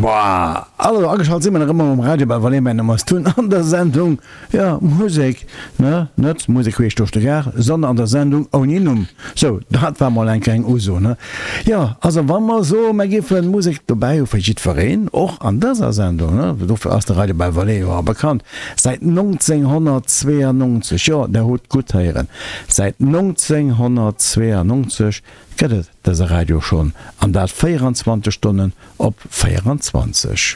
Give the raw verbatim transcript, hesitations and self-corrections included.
Boah, also ageschalt si mer nach ëmmer um Radio bei Vallée, mäin Numm ass Tun an der Sendung, jo, Musek, ne, net Musek queesch duerch de Gaart, sondern an der Sendung ouni Numm. Sou, dat war mol eng kleng Uso, ne? Jo, also wa mer soen, mer géifen Musek dobäi hu fir jiddwereen, och an dëser Sendung, ne, dofir ass de Radio bei Vallée jo och bekannt, säit nonzénghonnertzweeanonzeg, jo, der hutt gutt héieren, säit nonzénghonnertzweeanonzeg gëtt et dëse Radio schonn, an dat véieranzwanzeg Stonnen op véieranzwanzeg.